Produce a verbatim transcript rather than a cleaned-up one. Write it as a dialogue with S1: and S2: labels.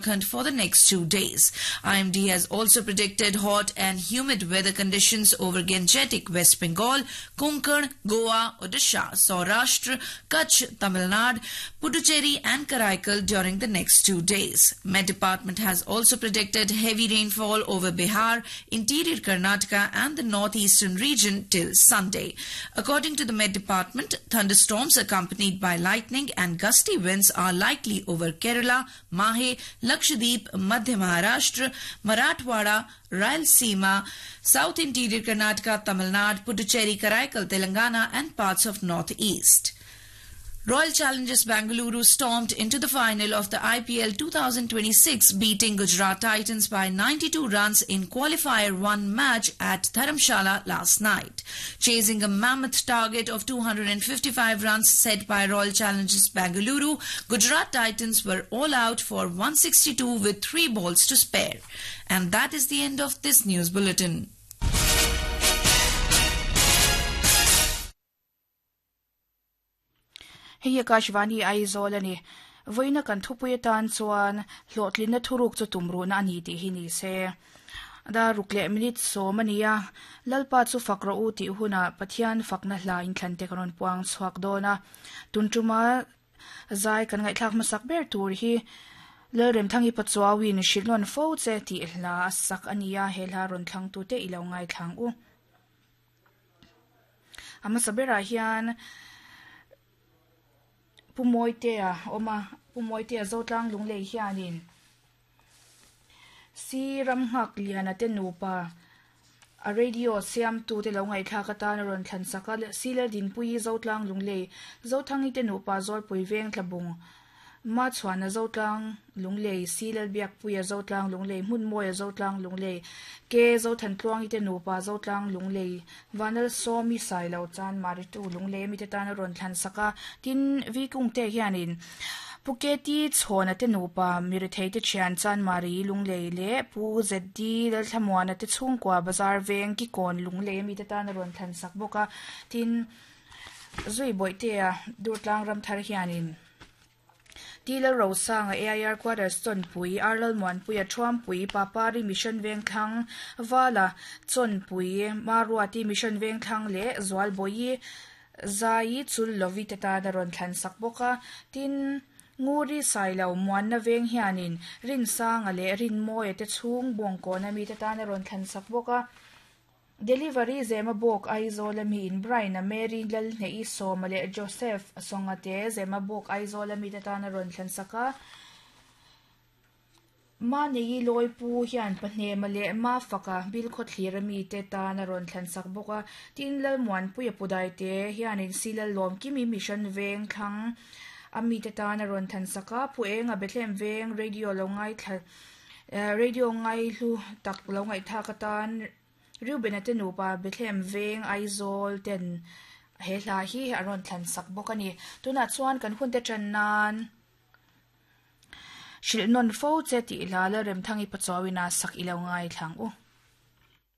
S1: For the next two days. I M D has also predicted hot and humid weather conditions over Gangetic West Bengal, Konkan, Goa, Odisha, Saurashtra, Kutch, Tamil Nadu, Puducherry and Karaikal during the next two days. Met Department has also predicted heavy rainfall over Bihar, interior Karnataka and the northeastern region till Sunday. According to the Met Department, thunderstorms accompanied by lightning and gusty winds are likely over Kerala, Mahe, Lakshadweep, Madhya Maharashtra, Marathwada, Rayalaseema, South Interior Karnataka, Tamil Nadu, Puducherry, Karaikal, Telangana and parts of Northeast. Royal Challengers Bengaluru stormed into the final of the I P L twenty twenty-six, beating Gujarat Titans by ninety-two runs in qualifier one match at Dharamshala last night. Chasing a mammoth target of two hundred fifty-five runs set by Royal Challengers Bengaluru, Gujarat Titans were all out for one sixty-two with three balls to spare. And that is the end of this news bulletin.
S2: Hei Akashvani Aizawl ani voina kan thupui tan chuan hlawhtlin na thuruk chu tumru na ani ti hi ni se da rukle minute so mania lalpa chu fakro u ti huna Pathian fakna hla in thlan te karon puang chuak dona tuntuma zai kan ngai thlak masak ber tur hi lerem thangi pachuawin shilon fo che ti hla sak ania hela ron thlang tu te ilo ngai thlang u ama sabera hian Pumoitea oma Pumoitea zotlang lunglei hianin si ramhak liana te nupa a radio siam tu te lo ngai thla ka tan ron thlan saka siler din pui zotlang lunglei zothangi te nupa zol pui veng thlabung ma chuana zotlang lunglei siler biak puia zotlang lunglei hmun moya zotlang lunglei ke zothan tluangi te nupa zotlang lunglei vanal somi sailo chan maritu lunglei mi te tan ron thlan saka tin vi kung te hianin Puketi chhona te nupa mirithei te thian chan mari lunglei le pu zd lal thlamuana te chhungkwa bazar veng ki kon lunglei mi te tan ron thlan sak boka tin zui boite a durtlang ram thar hianin Tila Rosanga A I R Quarters chon pui Arlal Muan pui a thuam pui Papari Mission Veng thlang Vala chon pui Maruati Mission Veng thlang le Zwal boi Zai chul lovi te ta da ron thlan sak boka tin Nguri Sailo muan na veng hianin rin sanga le rin moya te chung bong ko na mi te ta na ron thlan sak boka Delivery zema bok Aizawl mi in Brian a Mary lal nei soma le Joseph songa te zema bok Aizawl mi te tana ron thlan saka ma nei loi pu hian pahne ma le ma faka bil kho thlir mi te tana ron thlan sak boka tin lal muan puya pudai te hian in silal lom kimi mission veng thlang ami te tana ron than saka pu enga Bethlehem veng radio lo ngai thla radio ngai hlu tak lo ngai tha ka tan Ruben te nupa Bethlehem veng Aizawl ten he hla hi aron thlan sak bawk ani tuna chuan kan hun te tran nan shil non fo che ti la la rem thangi pachawina sak ilo ngai thlang u.